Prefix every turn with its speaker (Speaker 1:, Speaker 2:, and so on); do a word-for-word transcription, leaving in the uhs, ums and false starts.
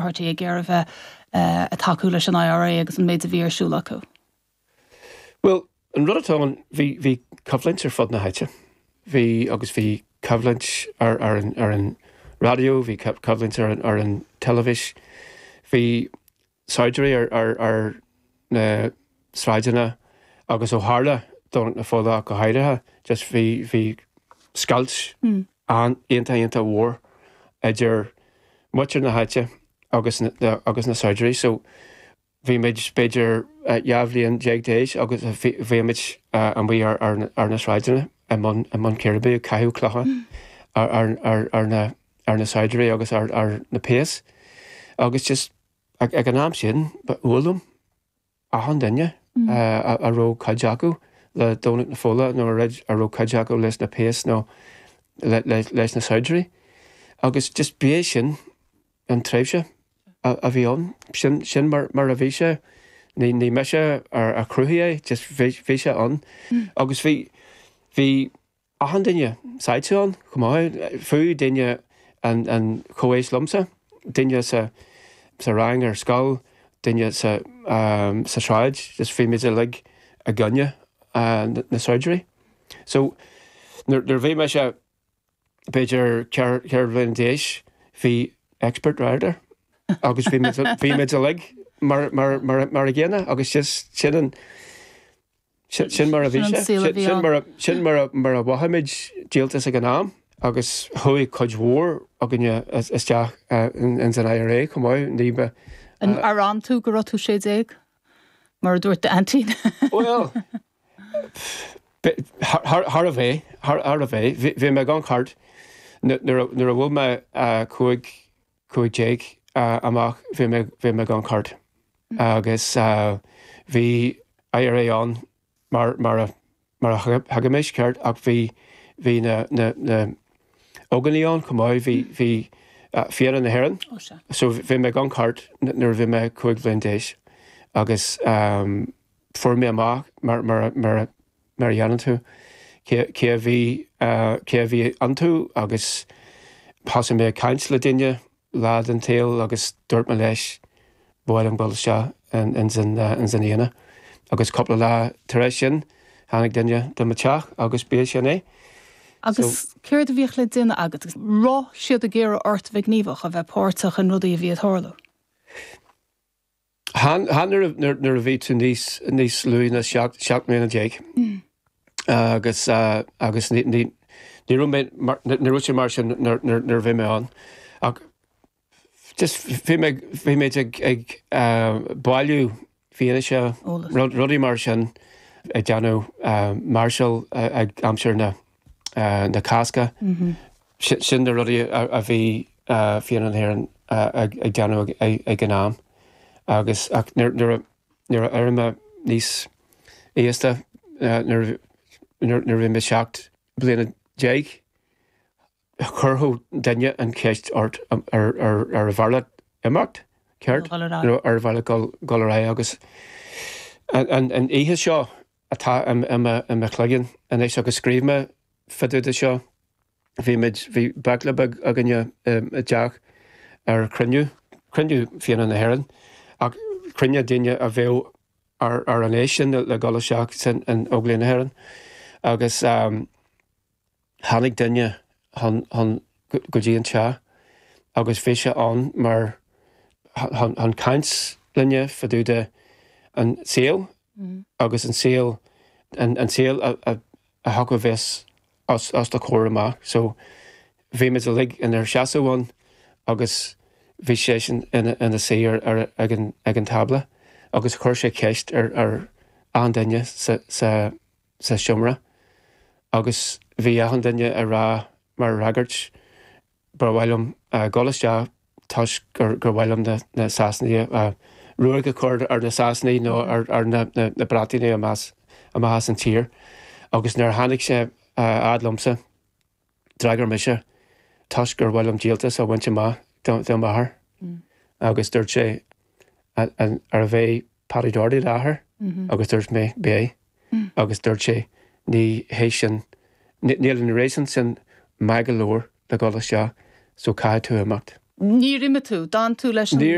Speaker 1: Páirtí ag iarraidh bheith ag tacú leis an I R A agus an méid a bhí ar siúl acu?
Speaker 2: Well, an rud atá ann, bhí bhí coimhlint ar fud na háite. Bhí agus bhí coimhlint ar ar an ar an raidió, bhí coimhlint ar an ar an teilifís, bhí saighdiúirí ar ar ar na sráideanna agus ó tharla Domhnach na Fola go háirithe, just bhí bhí scoilt mm. an iontach iontach mhór idir muintir na háite agus na, na, agus na saighdiúirí, so bhí muid b'fhéidir dhá bhliain déag d'aois agus bhí muid amuigh ar, ar, ar na sráideanna i mbun i mbun círéibe, caitheamh clocha mm. ar, ar, ar, ar na ar na saighdiúirí agus ar, ar na péas agus just ag, ag an am sin ba fhuath liom achan duine mm. uh, a, a raibh cuid acu le Domhnach na Fola nó a a raibh cuid acu leis na péas nó le, le, leis na saighdiúirí agus just b'é sin an tréimhse a, a bhí ann sin sin mar, mar a bhí sé. Ní ní mise ar a chruthaigh é, just bhí sé ann mm. agus bhí bhí achan duine sáite ann chomh maith, fiú duine an an chomhaois liomsa, duine sa sa rang ar scoil, duine sa um, sa sráid, just bhí muid uilig i gcoinne uh, na saighdiúirí. So nuair bhí mé sé b'fhéidir ceithre bhliain d'aois, bhí expert rider agus bhí bhí muid uilig mar mar mar mar a gcéanna agus just sin an sin mar a bhí sé sin mar sin mar mar a mhothaigh muid díoltas ag an am agus chuaigh cuid mhór againne isteach in san I R A chomh maith ní ba
Speaker 1: Ar fhan tú go raibh tú sé déag mar a dúirt d'aintín?
Speaker 2: Well, thar a bheith thar a bheith bhí mé gan cairt nuair a bhfuil mé cúig cúig déag amach bhí mé bhí mé gan cairt agus bhí I R A ann mar mar a mar a thuigimid, ceart, ach bhí bhí na na na óganaí ann chomh maith, bhí bhí Fianna na hÉireann. So bhí mé gan cairt nuair bhí mé cúig bhliain d'aois agus um, fuair mé amach mar mar mar mar dhéanann tú cé a bhí cé a bhí iontu agus thosaigh mé caint le duine lá den tsaol agus dúirt mé leis bháil an bhil seo in san Fhianna. Agus cúpla lá tar éis sin tháinig duine do mo teach agus b'é sin é.
Speaker 1: Agus céard a bhíodh le déanamh agat, raibh siad ag iarraidh ort bheith gníomhach, a bheith páirteach in rudaí a bhí ag tarlú?
Speaker 2: Chan nuair a bhí tú níos níos lú ná seacht mbliana déag. Agus agus ní ní sé mar sin nuair a bhí mé ann. Ach just bhí bhí mé ag ag bailiú fianaise, rudaí mar sin, ag déanamh máirseáil ag aimsir na na Cásca. Sin na rudaí a bhí Fianna na hÉireann ag déanamh ag an am. Agus nuair a d'éirigh mé níos aosta, nuair a bhí mé seacht bliana déag, chuirfeadh duine an cheist ort ar ar ar mhaith leat imeacht, ceart, ar mhaith leat dul ar aghaidh agus an an oíche seo atá i mo chloigeann anois agus scríobh mé fá dtaobh de seo, bhí muid bhí baicle beag againne i dteach ar chruinniú cruinniú Fianna na hÉireann ach cruinniú daoine a bheadh ar ar an aois sin le dul isteach san in Óglaigh na hÉireann agus um, tháinig duine chun chun go dtí an teach agus bhí sé ann mar chun caint linne fá dtaobh de an saol agus an saol an an saol a a a thiocfadh bheas os os do chomhair amach. So bhí muid uilig inár seasamh ann agus bhí sé sin ina ina suí ar ar ag an ag an tábla agus chuir sé ceist ar ar achan duine sa sa sa seomra agus bhí achan duine ag rá mar fhreagairt, "Ba mhaith liom dul isteach toisc gur gur mhaith liom na na Sasanaigh ruaig a chur ar na Sasanaigh nó ar ar na na na Breatanaigh amach amach as an tír." Agus nuair a tháinig sé fhad liomsa, d'fhreagair mise, "Toisc gur mhaith liom díoltas a bhaint amach do do m'athair." Agus dúirt sé, "Arbh é Paddy Doherty d'athair?" Agus dúirt mé, "B'é." Agus dúirt sé, "Ní hé sin, níl an réasún sin maith go leor le dul isteach, so caithfidh tú imeacht."
Speaker 1: Níor imigh tú, d'fhan tú leis an